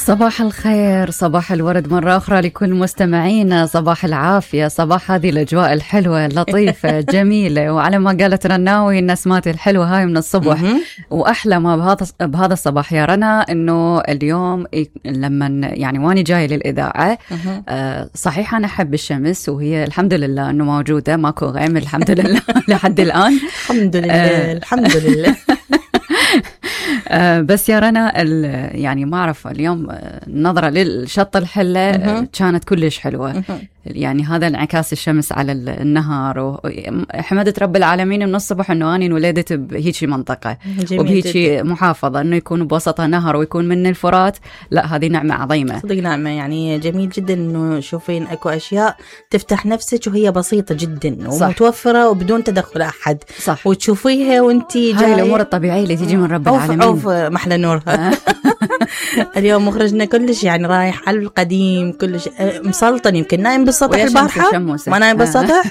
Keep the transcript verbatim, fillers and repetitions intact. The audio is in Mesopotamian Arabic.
صباح الخير، صباح الورد مرة أخرى لكل مستمعينا، صباح العافية، صباح هذه الأجواء الحلوة اللطيفة جميلة، وعلى ما قالت رناوي النسمات الحلوة هاي من الصبح. وأحلى ما بهذا بهذا الصباح يا رنا إنه اليوم لما يعني واني جاي للإذاعة آه صحيح أنا أحب الشمس وهي الحمد لله إنه موجودة، ماكو غيم الحمد لله لحد الآن الحمد لله آه الحمد لله. آه بس يا رنا يعني ما أعرف اليوم النظرة للشط الحلة آه كانت كلش حلوة. يعني هذا انعكاس الشمس على النهار، وحمدت رب العالمين من الصبح انه اني انولدت بهيجي منطقة وبهيجي محافظة انه يكون بوسطها نهر ويكون من الفرات. لا هذه نعمة عظيمة صدق، نعمة. يعني جميل جدا انه شوفين اكو اشياء تفتح نفسك وهي بسيطة جدا ومتوفرة وبدون تدخل احد. صح. وتشوفيها وانتي جاي. هاي الامور الطبيعية اللي تيجي من رب العالمين. عوف محلى نورها. اليوم مخرجنا كلش يعني رايح على القديم، كلش مسلطن، يمكن نايم بالسطح البارحة، ما نايم بالسطح.